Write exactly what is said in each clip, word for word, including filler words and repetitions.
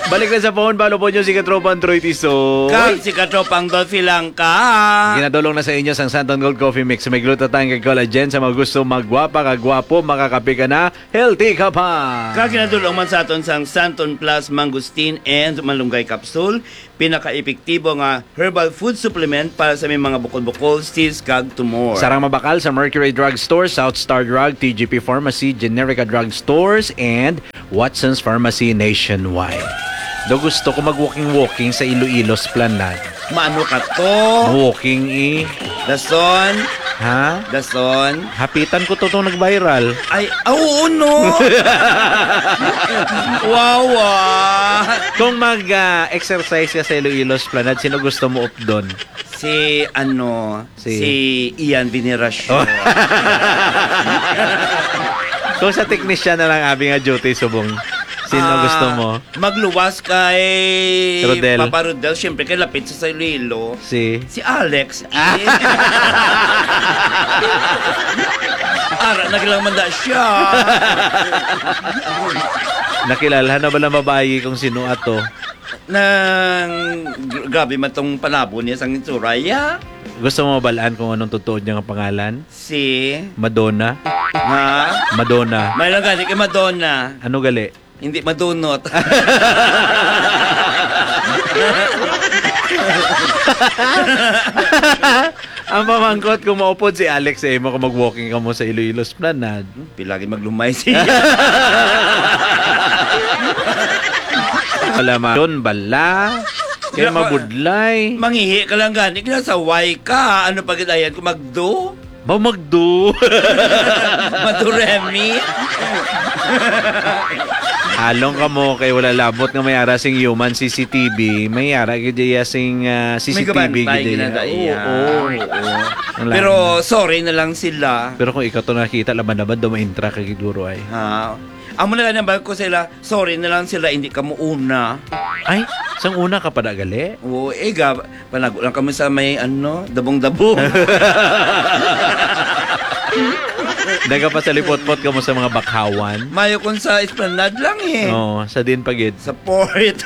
Balik na sa phone, follow po nyo si Katropang Troy Tisoy. Kag si Katropang Dolphy Langka. Ginadulong na sa inyo sang Santon Gold Coffee Mix. May glutathione kag collagen. Sa mga gusto magwapa kag gwapo, makakape ka na, healthy ka pa. Kag ginadulong man sa aton sang Santon Plus Mangosteen and Malunggay Capsule. Pinaka-epektibo nga herbal food supplement para sa may mga bukol-bukol, cyst, kag tumor. Sarang mabakal sa Mercury Drug Store, South Star Drug, T G P Pharmacy, Generica Drug Stores, and Watson's Pharmacy nationwide. Do gusto ko mag-walking-walking sa Iloilo Esplanade. Maano ka to? Walking eh. Dason. Ha? Dason. Hapitan ko to tong nag-viral. Ay, ah, oo, no? Wawa. Kung mag-exercise ka sa Iloilo Esplanade, sino gusto mo updon? Si, ano, Si si Ian Veneracion. Oh. Kung sa teknisyan na lang, abi nga duty subong, sino Ah, gusto mo? Magluwas kay Rodel. Papa Rodel, siyempre, kay lapit sa Iloilo. Si? Si Alex. Ah. Ara na lang man da siya. Nakilala na ba ng babayi kung sino ato? Nang, gr-, grabe man tong panabo niya sang itsura, ya. Gusto mo mabalaan kung anong totoo niya nga pangalan? Si Madonna? Ha? Madonna. May lang gani kay Madonna. Ano gali? Hindi madunot. Ang pamangkot, kung maupod si Alex sa imo kung mag-walking ka mo sa Iloilo Esplanade. Pila gid maglumay siya. Wala ma-, yun bala. Kaya Wala pa. Mabudlay. Mangihi ka lang gani, kinasaway ka. Ano pa gid ayan kung magdo? Ba magdo? Maduremi? Along ka mo kay wala labot nga may ara sing human C C T V, may ara gid iya sing, ah, May C C T V kabantay gid iya. Ginadaiya. Oo, oo. Oo. Ang Pero langit. Sorry na lang sila. Pero kung ikaw to nakita, laban-laban, dumaintra ka gid, guro, ay. Ha? Amo na lang ang bag ko sila, sorry na lang sila, hindi ka mo una. Ay, sang una ka pa na gali? Oo, eh, ga-, panago lang kamo sa may, ano, dabong-dabong. Nagapasalipot-pot ka mo sa mga bakhawan? Mayo kung sa Esplanade lang, eh. Oo, sa din pa gid. Sa port.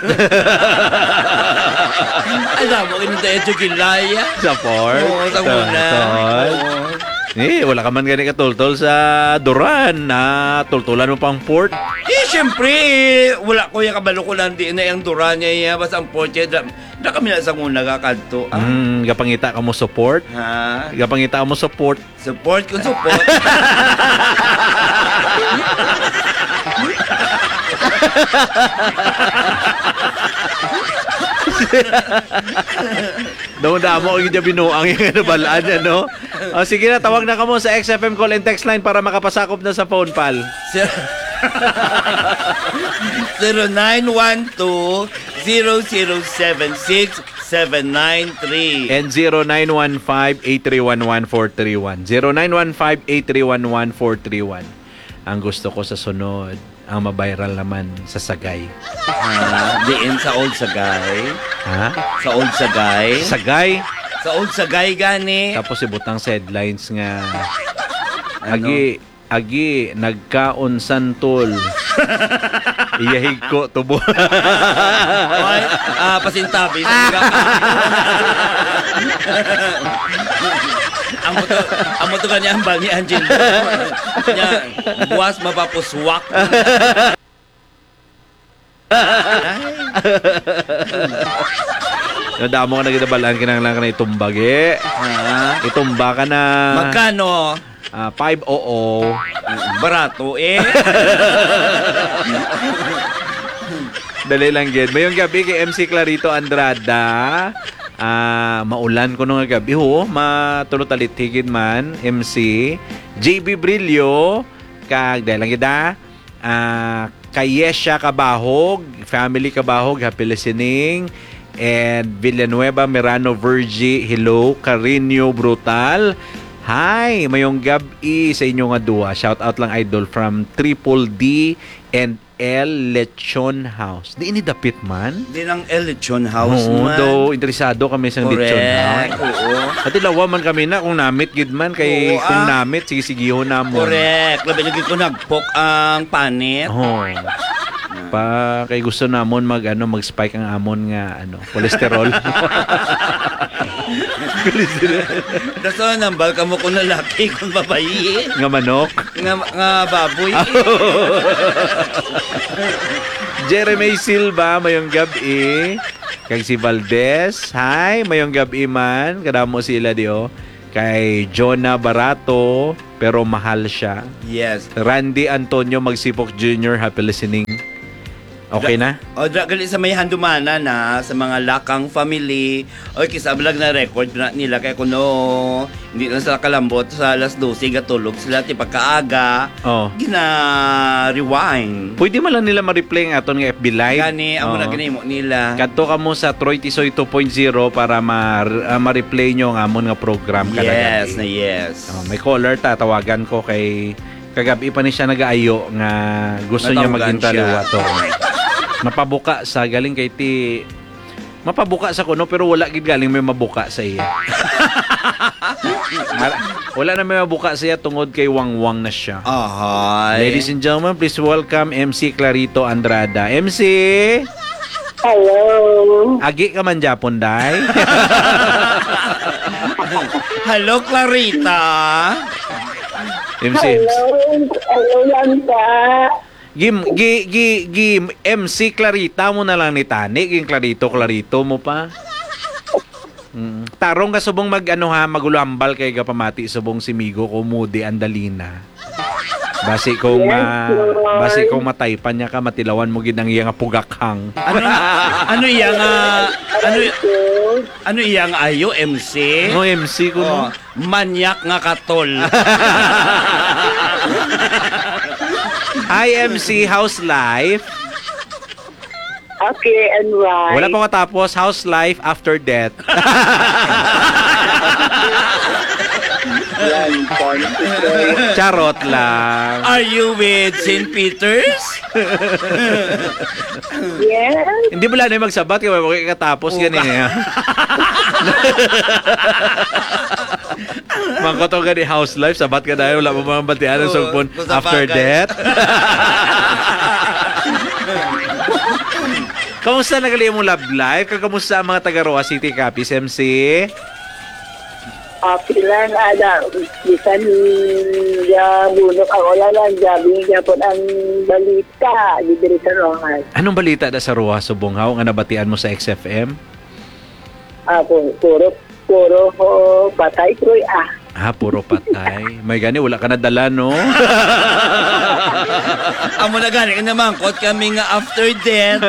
Alam mo, inunta yung Jugilaya. Sa port? Oo, sa Sa una. port? Oo. Eh, wala ka man gani katultol sa Duran, na tultulan mo pang port? Eh, siyempre, wala ko yung kabalo ko lang di na yung Duran niya, iya, basta ang port niya, da, da kami na sa una ka kadto, ah. Mm, gapangita ka mo support? Ha? Gapangita ka mo support? Support kung support. Damo-damo ang inyo binuang yung nabalaan niya, no? O, sige na, tawag na kamo sa X F M call and text line para makapasakop na sa phone, pal. Sir, zero nine one two, zero zero seven six, seven nine three. And zero nine one five, eight three one, one four three one. Zero nine one five, eight three one, one four three one. Ang gusto ko sa sunod, ang mabiral naman sa Sagay. Ah, diin sa Old Sagay? Ha? Sa Old Sagay? Sagay? Sa Old Sagay gani. Tapos ibutang sa headlines nga, Ano? agi, agi, nagkaon santol. Iyahig ko tubo. Oy, ah, pasintabi sa mga. Ang motor, ang motor ka niya, ang bal ni Angelo. Niya, buwas mapapuswak. Nadamo ka na kita balaan, kinahanglan ka na itumbag, eh. Ah. Itumba ka na. Magkano? Ah, five oo. Barato, eh. Dali lang, gid. Mayong gabi kay M C Clarito Andrada. Ah, maulan ko nung gabi. Oo, matulo talithigid man, M C. J B Brillo, kag dali lang, gid, ah. Ah, Kayesha Kabahog, family Kabahog, happy listening. And Villanueva Mirano Virgie, hello. Carino Brutal, hi. Mayong gab-i sa inyo nga duha. Shout out lang, idol, from Triple D and El Lechon House. Di ini dapit man? Di nang El Lechon House Oo, man. Daw interesado kami sa Lechon House. Correct, oo. Pati lawa man kami na kung namit gid man kay Oo, kung ah. namit, sige-sigihon namon. Correct. Labi lagi ko nagpok ang panit. Oo. Ah. pa, kay gusto namon mag, ano, mag-spike ang amon nga, ano, cholesterol. Cholesterol. Daso, nambal kamo kung lalaki, kung babayi. Nga manok. Nga, nga baboy. Jeremy Silva, mayong gab-i. Kag si Valdez, hi, mayong gab-i man. Kadamo sila di, oh. Kay Jonah Barato, pero mahal siya. Yes. Randy Antonio Magsipok Junior, happy listening. Okay na? O, dra-, gali sa may handumanan na, sa mga Lakang family. Oy, kisa ablag na record na nila kay kuno, hindi na sila kalambot sa alas dose, gatulog sila, ti pagkaaga, Oh. gina-rewind. Pwede man lang nila ma-replay ang aton nga F B Live. Gani, amo na Oo. ginimo nila. Kadto kamo sa Troy Tisoy two point zero para ma-, ah, ma-replay nyo ang amon nga program kada Yes, gabi. na yes. Oh, may caller ta, tawagan ko kay kagabi pa ni siya nagaayo nga gusto niya Matawagan maging siya. taliwato. Mapabuka sa galing kay ti mapabuka sa kuno pero wala gid galing may mabuka sa iya. Mar-, wala na may mabuka sa iya tungod kay wangwang na siya. Ahay. Ladies and gentlemen, please welcome M C Clarito Andrada. M C! Hello. Agi ka man gyapon, day? Hello, Clarita. M C, Hello. Hello lang pa. Gim, gi, gi, gi, M C Clarita mo na lang ni tani, ging Clarito, Clarito mo pa. Mm. Tarong ka subong mag, ano ha, magulambal kay gapamati subong si Migo ko Moody Andalina. Basi kung, Yes, ah, Lord. basi kung mataypan niya ka, matilawan mo gid ang iya nga pugakhang. Ano, ano iya nga, ano, Aray ko. ano iya nga ayo, M C? No, M C ko, no? Oh, manyak nga katol. Hi, M C, how's life? Okay, and why? Wala pa matapos, how's life after death? Yan, fun. Charot lang. Are you with Saint Peter's? Yes. Hindi mo lang na magsabat kaya wala ka katapos Oh. yan eh. Mangkot ang gani house life, sabat ka dahil wala mo mga batian ang Oh, sugpon kung sa after bagay. death. Kamusta na gali imong love life? Kag kamusta ang mga taga Roa City Capiz, M C? Okay lang, ada, bisan ya bunok ang ulan, ang gabi gyapon ang balita, di diri sa Roa. Anong balita da sa Roa, subong haw, nga nabatian mo sa X F M? Ah, pu-, puro, puro, oh, patay, Troy, ah. Ah, puro patay. May gani, wala ka nadala, no? Amo na gani, namangkot kami nga after death.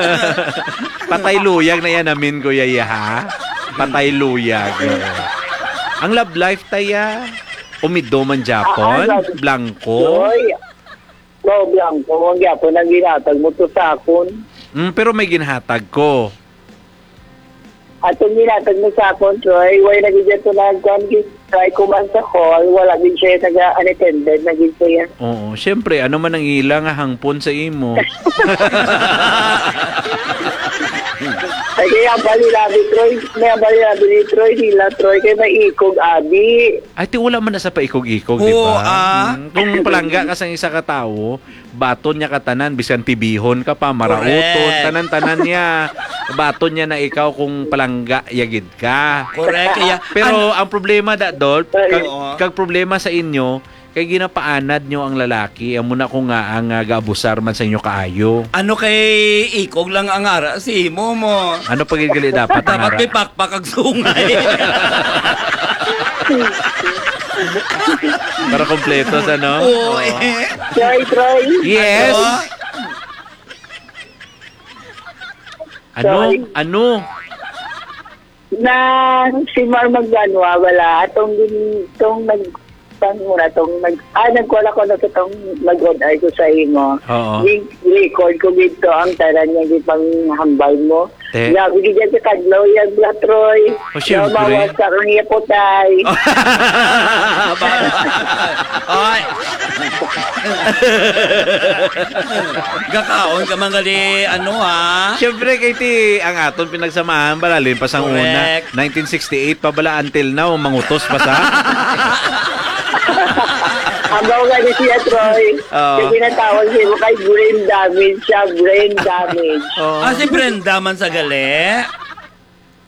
Patay luyag na yan, amin, Kuya Iha. Patay luyag. Oo. Ang love life, taya, umido man gyapon, Ah, ah, love blanco. Troy. Wow, blanco, ang gyapon ang ginatag mo to sa akon. Mm, pero may ginhatag ko. Atong ginatag mo sa akon, Troy, way na gid to nagkuan, gid try ko man sa call, wala gid siya naga-, unattended na gid siya. Oo, syempre, ano man ang ila nga hangpon sa imo? Ay, kaya bali labi, Troy. May bali labi ni Troy, nila, Troy, kay may ikog, abi. Ay, ti wala man na sa paikog-ikog, di Oo, ba? ah. Mm, kung palangga ka sa isa ka tawo, baton niya ka tanan, bisan tibihon ka pa, marauton, Correct. tanan-tanan niya. Baton niya na ikaw kung palangga ya gid ka. Correct, iya. Pero An- ang problema, da, Dol, kag, Oo. kag problema sa inyo, kay ginapaanad nyo ang lalaki, amo na ko nga ang, ah, gaabusar man sa inyo kaayo. Ano kay ikog lang ang ara si imo mo? Ano pa gid gali dapat ang Dapat ara? may pakpak ag sungay. Para kompleto sa, no? Oo, Oo. eh. Troy, Troy. Yes. Ano? Troy. Ano? Nang si Mar Magdanwa, wala. Atong gin-, tong nag-, tong muna, tong nag-, ah, nagkuha ko na sa tong nag-on air ko sa imo. Oo. Gin-, record ko dito ang tanan niya, di pang hambal mo. Te. Grabe, di dyan sa Kadlaw yan, Bla Troy. Oh, syempre. Mawas sa kang yapotay. Ay. Gakaon ka man gali, ano, ha? Siyempre, kay ti, ang aton pinagsamahan, balalin pa sang una. Correct. Nineteen sixty-eight pa bala, until now, mangutos pa sa. Amo gani siya, Troy. Oo. Kay ginatawag siya mo kay brain damage siya, brain damage. Oo. Ah, si Brenda man sa gali?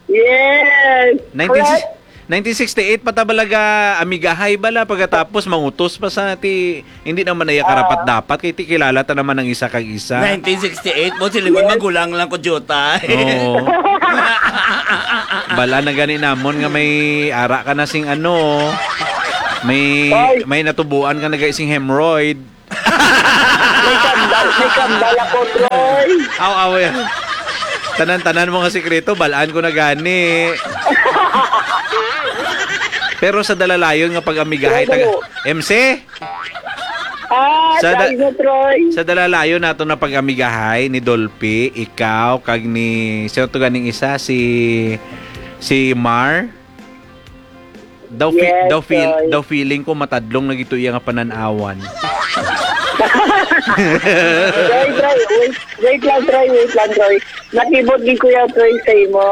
Yes. Nineteen, Correct. nineteen sixty-eight pa ta balaga, amigahay bala, pagkatapos mangutos pa sa ti, hindi naman na iya karapat-dapat, kay ti kilala ta naman ang isa kag isa. Nineteen sixty-eight po, sila Yes. magulang lang ko, Jota. Oo. Bala na gani namon nga may ara ka na sing ano, may, Ay. may natubuan ka na gani sing hemorrhoid. May kambal, may kambal ako, Troy. Aw, aw, yan. Tanan-tanan mo nga sikreto, balaan ko na gani. Pero sa dalalayon nga pag-amigahay, taga, Ano? M C? Ah, Sa da- dahil na, Troy. Sa dalalayon nato na pag-amigahay ni Dolphy, ikaw, kag ni, sino to ganing isa? Si, si Mar? Daw, fi- Yes, daw, feel, Troy. daw feeling ko matadlong na gito iya nga pananawan. Troy, Troy, wait, wait lang, Troy, wait lang, Troy. Nakibot din, Kuya Troy, sa imo.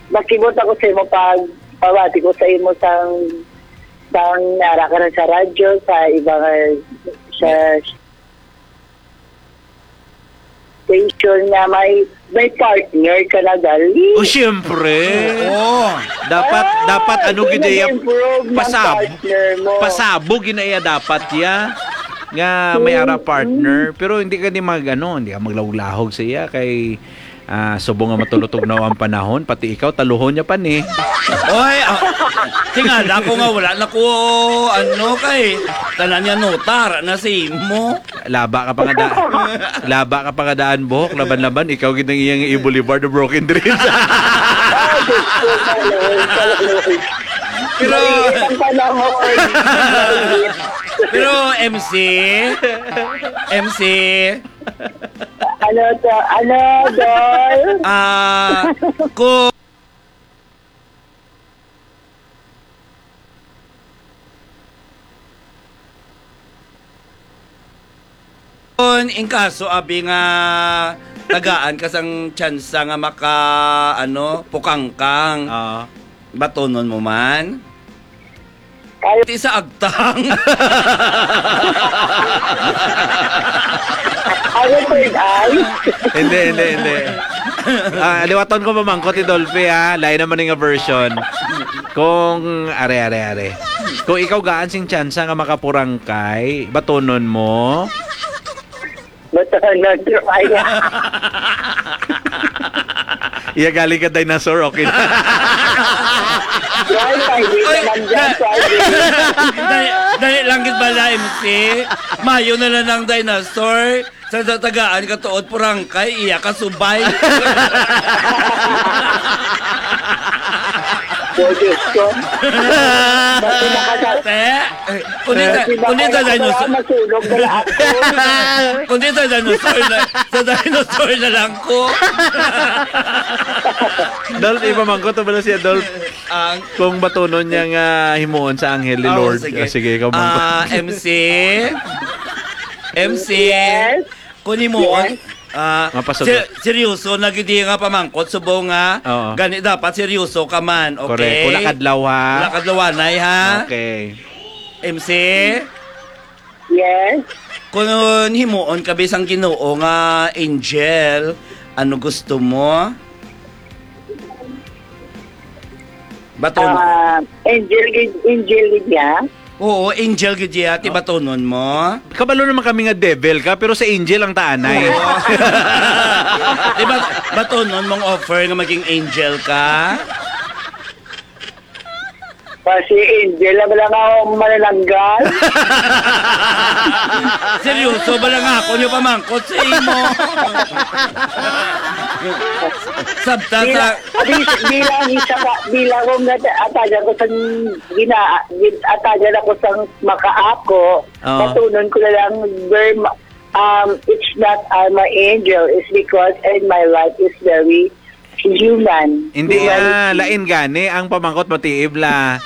Nakibot ako sa imo pag pabati ko sa imo sang, sang nara ka na sa radyo, sa iba nga, sa station nga may, may partner ka na, dali. O, siyempre. Oo. Dapat, Ah, dapat ano gid iya, nag-improve ng pasab-, partner mo. Pasabog gid na iya dapat ya nga may ara Mm, partner. mm. Pero hindi ka di mag, ano, hindi ka maglahog-lahog sa iya kay, ah, subong nga matulutog na ang panahon, pati ikaw, taluhon niya pa ni. Oy, ah, tingala ko nga wala na ko, ano, kay tanan niya nota, ara na sa imo. Laba ka pa nga da-, laba ka pa nga daan buhok, laban-laban, ikaw gid ang iyang i-boulevard of broken dreams. Ay, Diyos ko, Lord, Lord. Pero Maliit ang panahon. Pero, M C, M C, Ano to? Ano, Dol? Ah, kung Kon in kaso, abi, nga tagaan ka sang tsansa nga maka, ano, pukangkang, Ah. batonon mo man? Ay. Ti sa agtang. Ano, third eye? Hindi, hindi, hindi. Ah, liwaton ko pamangkot ni Dolphy, ha. Lain naman nga version. Kung, are, are, are. Kung ikaw gaan sing tsansa nga makapurangkay, batonon mo? Batonon, Troy. Iya, galing ka dinosaur, okay na. Troy, pwede Ay, naman dyan, na-, pwede. dali, dali lang gid bala, M C. Mayo na lang ang dinosaur. Sa, sa tagaan ka tuod, purangkay, iya ka subay. Oh, Diyos ko. Ba't di nakasa- Te, kundi sa, Ba't di kundi sa nakasa- dinosaur. Masunog na lang ako. Kundi sa dinosaur na, sa dinosaur na lang ko. Dolph, ipamangkot to bala si Adolf. Ang Kung batunon niya nga himuon sa anghel ni Oh, Lord. sige. Ah, sige, ikaw, mangkot. Ah, M C. M C. Yes. Kung himuon, Yes. ah, Mapasugot. ser-, seryoso na gid nga pamangkot, subong nga, Oo. gani dapat seryoso ka man, Correct. okay? Wala kadlaw, ha? Wala kadlawanay, ha? Okay. M C? Yes. Kung himuon ka bisang Ginoo nga angel, ano gusto mo? Batonon. Ah, angel gid, angel gid niya? Oo, angel gid niya, ti Oh. batonon mo? Kabalo naman kami nga devil ka, pero sa angel ang taanay. Oo. Di ba, batonon mong offer nga maging angel ka? Pa si Angel na bala nga manananggal. Seryoso bala nga ako niyo pamangkot sa imo. Sabta sa Bila-, bis-, bilang isa ka, bilang kung nat-, atagan ko sang gina-, gin-, atagan ako sang makaako, Oo. batunon ko na lang, Berma, um, it's not I'm an angel, it's because in my life is very human. Hindi, Humanity. ah, lain gani ang pamangkot mo, Tiib, la.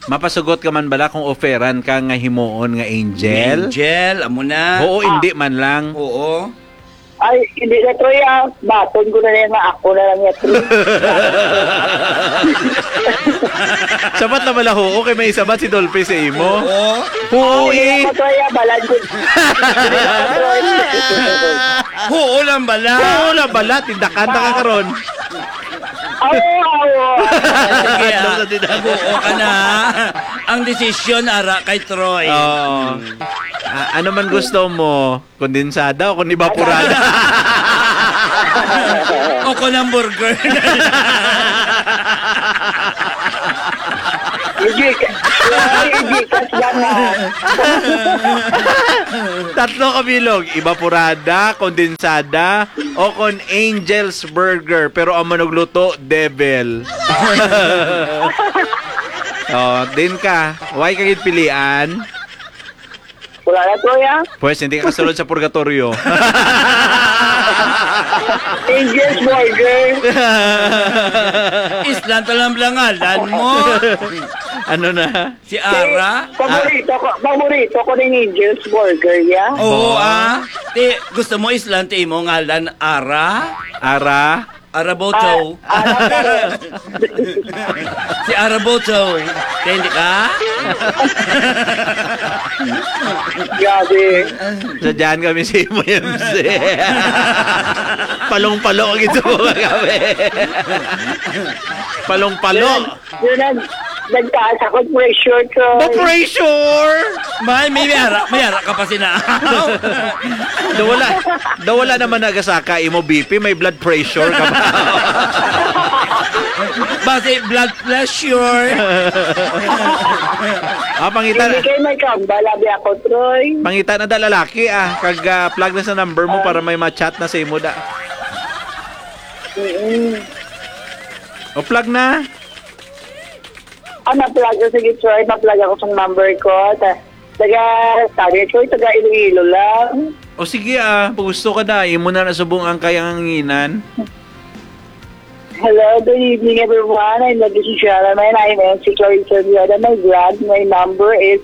Mapasugot ka man bala kung offeran ka nga himuon nga angel? Angel, amo na. Oo, Ah. hindi man lang. Oo. Ay, hindi na, Troy, ah. Baton ko na lang nga ako na lang niya, Troy. Sabat na bala, oo, kay may isabat si Dolphy sa imo. Oo. Oo, Ay, eh. Hindi na, Troy, ah. Balad ko. Hindi na, Troy. Oo lang bala. Oo lang bala, tindakan na ka karon. Oo, oo. Sige, Adlaw ah. Sa tindakan. Nag-oo ka na. Ang desisyon, ara, kay Troy. Oo. Ah, ano man gusto mo? Kondensada o kon evaporada? O kon hamburger? Gcash. Gcash lang, ah. Tatlo ka bilog, evaporada, kondensada, o kon Angel's Burger, pero ang manugluto, devil. Oh, din ka. Why ka gid pilian? Wala na, Troy, ah. Pwes, hindi ka kasulod sa purgatorio. Angel's Burger. Islan ta lang bala ngalan mo. Ano na? Si Ara? Paborito ko, paborito ko ning Angel's Burger, ya. Oo, Ba? Ah. Ti, gusto mo islan ti imo ngalan, Ara? Ara? Araboto. Ah, ah, Si Araboto. Kaya hindi ka? Grabe. Sadyahan kami si Imo M C. Palong-palo ang ito mga kami. Palong-palo. Yun ang nagtaas ako pressure ko. Ba pressure? May, may, may ara, may ara ka pa sina. Daw wala, daw wala naman nagasaka imo B P, may blood pressure ka ba? Basi blood pressure. Ah, pangita Hindi na. Kayo may kambal, abi ako, Troy. Pangita na da lalaki, ah. Kag, ah, plug na sa number mo Ah. Para may ma-chat na sa imo da. Mm-mm. O, plug na. Ah, ma-plug ko. Sige, Troy, ma-plug ako sa number ko. Ta-, taga, sabi, Troy, taga Iloilo lang. O sige, ah, pag gusto ka na, imo na nasubong ang kayanganginan. Hello, good evening, everyone. I'm Lady Shishara, and I'm M C Clarissa Villada. My vlog, my number is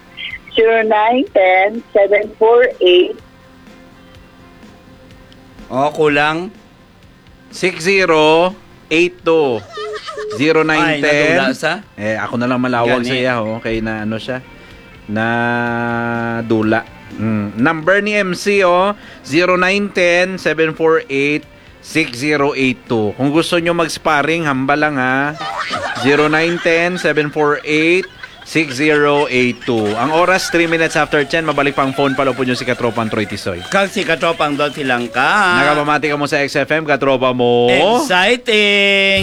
zero nine ten, seven four eight. Oh, kulang. Six zero eight two. Ay, zero nine ten. Nadula sa? Eh, ako na lang malawag Gani. Sa iya, oh, kay na ano siya, na dula. Mm. Number ni M C, oh, zero nine ten, seven four eight, six zero eight two. Kung gusto nyo mag-sparring, hambal lang, ha. Zero nine ten, seven four eight, six zero eight two. Ang oras, three minutes after ten. Mabalik pa ang phone, palupod nyo si Katropang Troy Tisoy. Kag si Katropang Dolphy Langka. Nakapamati ka mo sa X F M, katropa mo. Exciting!